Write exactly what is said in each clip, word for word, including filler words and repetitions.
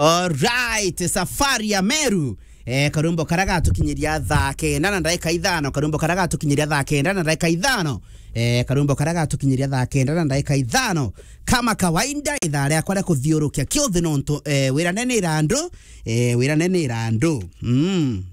Alright, Safari ya Meru. Eh, karwimbo karia gatukinyiria thaa kenda na ndagika ithano, karwimbo karia gatukinyiria thaa kenda na ndagika ithano. Eh, karwimbo karia gatukinyiria thaa kenda na ndagika ithano. Kama kawaida, ithaa riakwa ria kuthiurukia kiuthi nontu, eh, wirane ni irandu, eh, wirane ni irandu. Mm.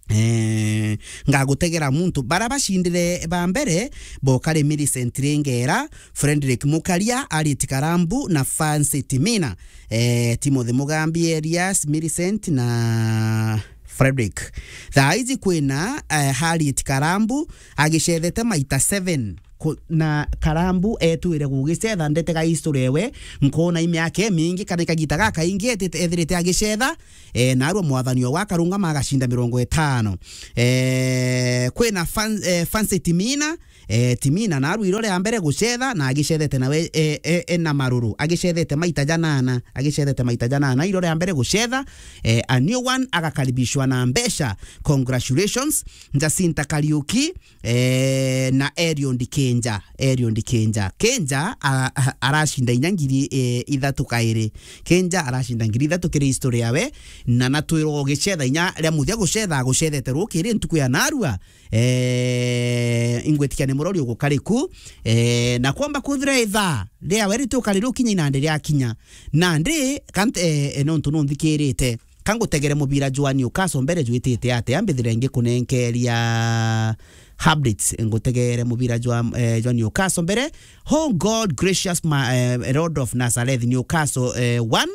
Eh, ngagutegera muntu. Bara bacindire ba mbere, bokari Millicent Ringera, Frederick Mukaria, Harriet Karambu na Fancy Timina. Eh, Timothy Mugambi, Elias, Millicent na Frederick. Thaa iji kwina, eh, Harriet Karambu agicethete maita seven. Ku-, na Karambu etwire gugicetha ndetega history ewe, nkona i miaka imingi kana i kagita gakaingi etite, ethirite agicetha, eh, narua mwathani o wakarungama agacinda mirongo itano. Eh, kwina Fan-, eh, Fancy Timina, eh, Timina narua iro ria mbere gucetha na agicethete nawe, eh, eh, eh, na maruru, agicethete maita janana, agicethete maita janana iro ria mbere gucetha, eh, a new one agakaribishwa na mbeca. Congratulations, Jacinta Kariuki, eh, na Eliud Kenja. Eliud Kenja. Kenja a-, a-, aracinda inya ngiri, eh, ithatu kairi. Kenja aracinda ngiri ithatu kiri history yawe, na natwirwo gicetha inya ria muthia gucetha, agucethete rukiri ntuku ya narua. Eh, ingwitikia ni murori ugukariku. Eh, na kwamba kwithira ithaa riawe ritukari rukinya inandi riakinya. Nandi, kant-, eh, eh, nontu nunthikirite. Ka ngutegere mubira jwa Newcastle mbere jwitite atia, mbithire ngikunenkeria updates. Ngutegere mubira jwa, eh, jwa Newcastle mbere. Oh God, gracious ma-, eh, Lord of Nazareth, Newcastle, eh, one,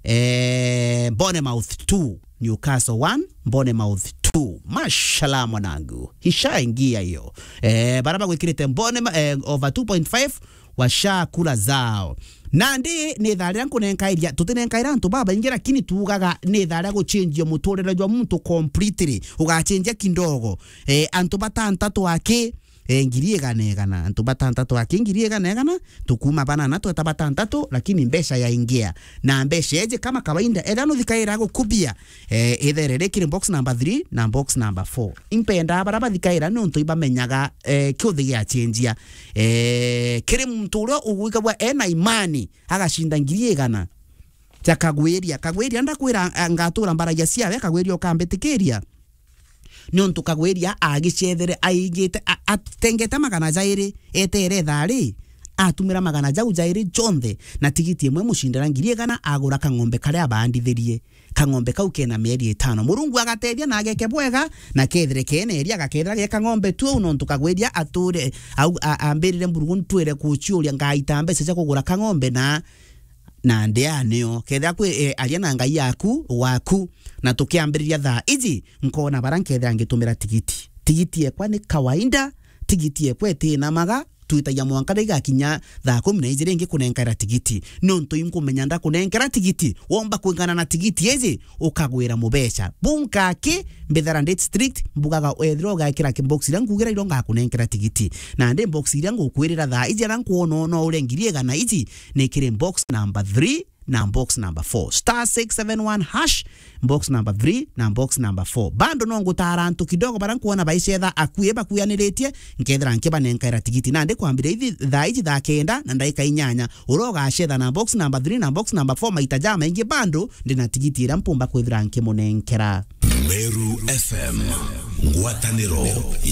eh, Bournemouth two. Newcastle one, Bournemouth two. Mashallah mwanangu. Ishaingia hiyo. Eh, bara bagwikirite Bournemouth, eh, over two point five, washakula zao. Nandi ni ithaa riria nkunenkairia, tutinenkaira antu babaingi, lakini tuugaga ni ithaa ria guchenjia muturire jwa muntu completely, ugachenjia kindogo. Eh, antu batantatu aki, eh, ngiri igana igana, antu batantatu aki ngiri igana igana, tukuma banana tweta batantatu, lakini mbeca yaingia. Na mbeca eje kama kawaida, etha nuthikaira gukubia, eh, ithere rikiri box number three na box number four. Impenda bara bathikaira nontu ibamenyaga, eh, kiuthi giachenjia. Eh, kiri muntu uria ugwikagwa ena imani, agacinda ngiri igana. Ja Kagwiria, Kagwiria ndakwira, eh, ngatura mbaragia ciawe, Kagwiria ukambitikiria. Nontu Kagwiria agicethere aigite, a-, atengete magana jairi, etere thaa ri, atumira magana jau jairi jonthe, na tigiti imwe imucindira ngiri igana, agura kang'ombe karia abandithirie. Kang'ombe kau kena mieri itano. Murungu agatethia na ageke bwega, na kethire kena iria, agakethira ge kang'ombe tu, nontu Kagwiria ature, au, a-, ambirire Mburugu ntwire kuciuria ngaita mbeca cia kugura kang'ombe na, na ndea nio. Kethira kwi, eh, aria na Ngai yaku, waku. Na tukiambiriria thaa iji, nkona bara nkethira ngitumira tigiti. Tigiti ekwa ni kawaida, tigiti ekwa itinamaga, twitagia mwanka riria igakinya thaa kumi na ijiri ngikunenkaira tigiti. Nontu inkumenya ndakunenkera tigiti, womba kwingana na tigiti iji, ukagwira mubeca. Bunka aki, mbithara ndi strict, mbugaga wethira ugekira ki box iria nkugira iro ngakunenkera tigiti. Na ndi box iria ngukwirira thaa iji aria nkwona no uria ngiri igana iji, ni kiri box number three na box number four. Star six seven one hash, box number three na box number four. Bando no ngutara antu kidogo bara nkwona baicetha akui bakuyaniritie, nkethira nkibanenkaira tigiti. Nandi kwambira ithi thaa iji thaa kenda na ndagika inyanya, uria ugacetha na box number three na box number four maita jamaingi, bando ndina tigiti iria mpumba kwithira nkimunenkera. Meru F M, ngwataniro